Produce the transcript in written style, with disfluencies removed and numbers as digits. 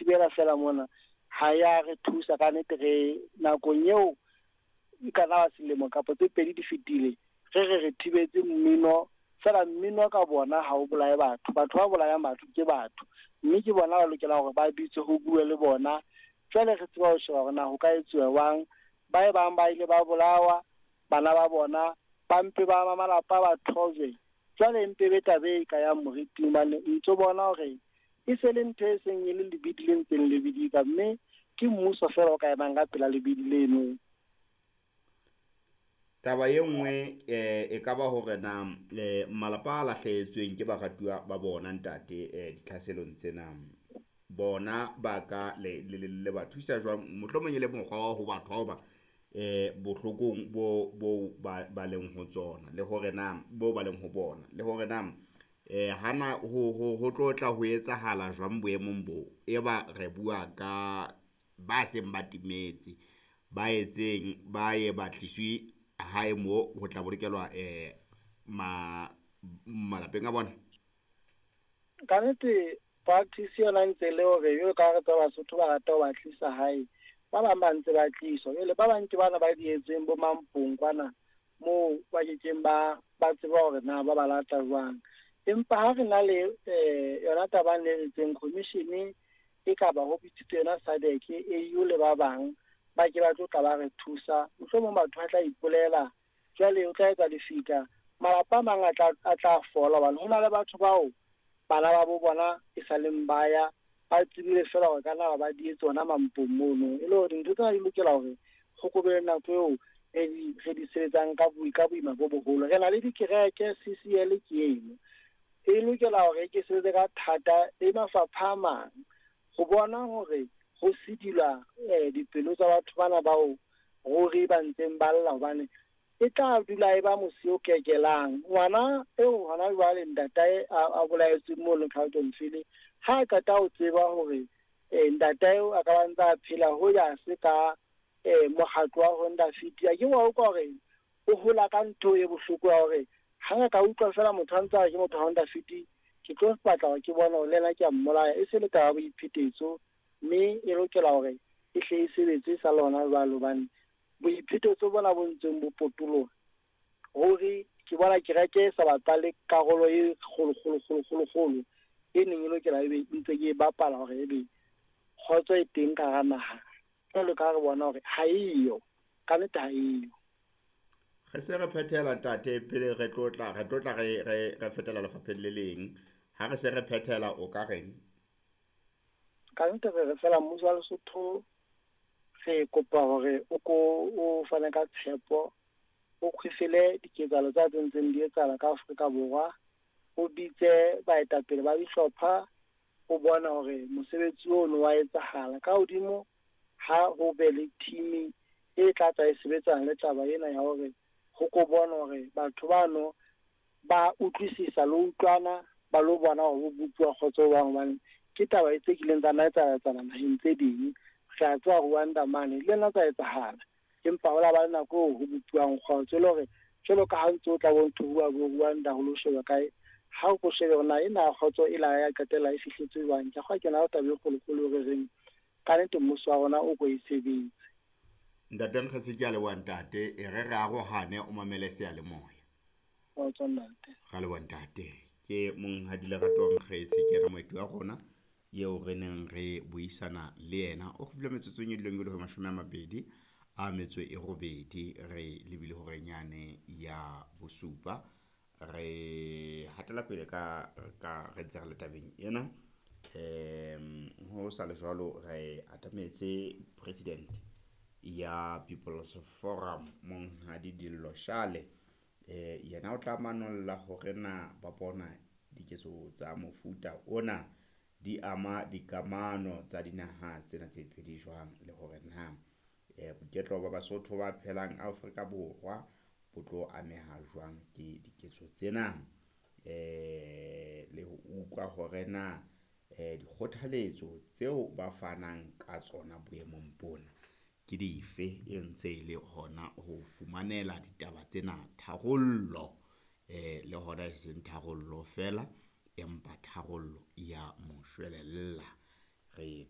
thibela fela mona ha ya re thusa ka nnete. Re nakong eo e ka nna selemo kapa tse pedi di fetile, re re re thibetse mmino fela. Mmino ka bona ha o bolaye batho, batho ba bolayang batho ke batho, mme ke bona ba lokela hore ba bitswe ho bue le bona. Jwale re tseba ho sheba hore na ho ka etsuwa jwang. Ba e bang ba ile ba bolawa, bana ba bona ba mpe ba malapa ba thojwe. Jwale mpe be taba e ka yang moriting, hobane ntso bona hore e se le ntho e seng e le lebidi le ntseng le bidika, mme ke mmuso fela o ka emang ka pela lebidi leno. Taba e nngwe e ka ba hore na malapa a lahlehetsweng ke baratuwa ba bona ntate ditlhaselong tsena, bona ba ka le le ba thusa jwang? Mohlomong e le mokgwa wa ho ba thoba bohlokong bo bo ba leng ho tsona, le hore na bo ba leng ho bona, le hore na hana ho tlo tla ho etsahala jwang boemong bo e ba re bua ka ba seng ba timetse, ba etseng ba ye ba tliswe hae mo ho tla bolokelwa malapeng a bona? Ka nnete practice yona ntse le hore jwalo ka re tseba Basotho ba rata ho ba tlisa hae, ba bang ba ntse ba tliswa. Jwale ba bang ke bana ba dietsweng bo Mampong kwana moo ba kekeng ba tseba hore na ba ba lata jwang. Empa ha re na le yona taba e ritseng commission e ka ba ho bitsitswe yona SADC, AU le ba bang ba ke ba tlo tla ba re thusa. Mohlomong batho ba tla ipolela, jwale o tla etsa lefika, malapa a mang a tla fola, hobane ho na le batho bao bana ba bo bona e sa leng ba ya ba tsebile fela hore ka na ba di etse hona Mampong mono. E le hore dintho tsena di lokela hore ho ko be le nako eo re di sebetsang ka boima bo boholo. Re na le dikereke, CCL ke eno e lokela hore ke sebetse ka thata le mafapha a mang ho bona hore ho sedilwa dipelo tsa batho bana bao ruri ba ntseng ba lla, hobane e tla dula e ba mosi o kekelang. Ngwana eo hona jwale ntatae a bolaetsweng mono Carltonville, ha a qeta ho tseba hore ntatae a ka ba ntse a phela ho ya se ka mokgatlo wa Honda Fit, a ke wa utlwa hore o hola ka ntho e bohloko ya hore ha nka utlwa fela motho a ntse a re ke motho wa Honda Fit, ke tlo batla hore ke bone hore le yena ke a mmolaya. E se le taba ya boiphetetso, mme e lokela hore e hle e sebetse sa lona jwalo, hobane boiphetetso bona bo ntseng bo potoloha ruri ke bona kereke e sa bapale karolo e kgolo kgolo kgolo kgolo kgolo e neng e lokela ebe ntse ke e bapala hore ebe kgotso e teng ka hara naha. Jwalo ka ha re bona hore ha eyo, ka nnete ha eyo. Re se re phethela ntate, pele re tlo tla re fetela lefapheng le leng. Ha re se re phethela o ka reng? Ka nnete re re fela mmuso wa Lesotho re kopa hore o ko o fane ka tshepo, o kgwefele diketsahalo tsa tse ntseng di etsahala ka Afrika Borwa, o bitse baetapele ba dihlopha, o bone hore mosebetsi ono wa etsahala. Ka hodimo ha ho be le team e tla tla e sebetsana le taba ena ya hore ho ko bona hore batho bano ba utlwisisa le utlwana, ba lo bona hore ho bopuwa kgotso jwang, hobane ke taba e tse kileng tsa nna etsahala naheng tse ding. Re a tseba Rwanda mane le nna tsa etsahala, empa ho la ba le nako eo ho bopuwang kgotso, e le hore jwalo ka ha ntse o tla bo ntho bua bo Rwanda ho lo sheba kae, ha o ko shebe hore na ena kgotso e la ya qetella e fihletse jwang. Ke kgwa ke na le taba e kgolokgolo re reng ka nnete mmuso wa rona o ko e sebetse. Ntate Nkgese, ke a leboha ntate, e re re arohane o mamele seyalemoya. Kgotso ntate. Ra leboha ntate. Ke monghadi Lerato Nkgese, ke yena moeti wa rona eo re neng re buisana le yena. O kgutlile metsotsong e dileng e le ho 28 re lebile horeng yane ya bosupa. Re hatela pele ka re ntse re le tabeng ena. Ho sa le jwalo re atametse president ya People's Forum monghadi Dillo Shale. Yena o tla manolla hore na ba bona diketso tsa mofuta ona di ama dikamano tsa dinaha tsena tse pedi jwang, le hore na boiketlo ba Basotho ba phelang Afrika Borwa bo tlo ameha jwang ke diketso tsena, le ho utlwa hore na dikgothaletso tseo ba fanang ka tsona boemong bona ke dife, e ntse e le hona ho fumanela ditaba tsena tharollo, le hona e seng tharollo fela, empa tharollo ya moshwelella. Re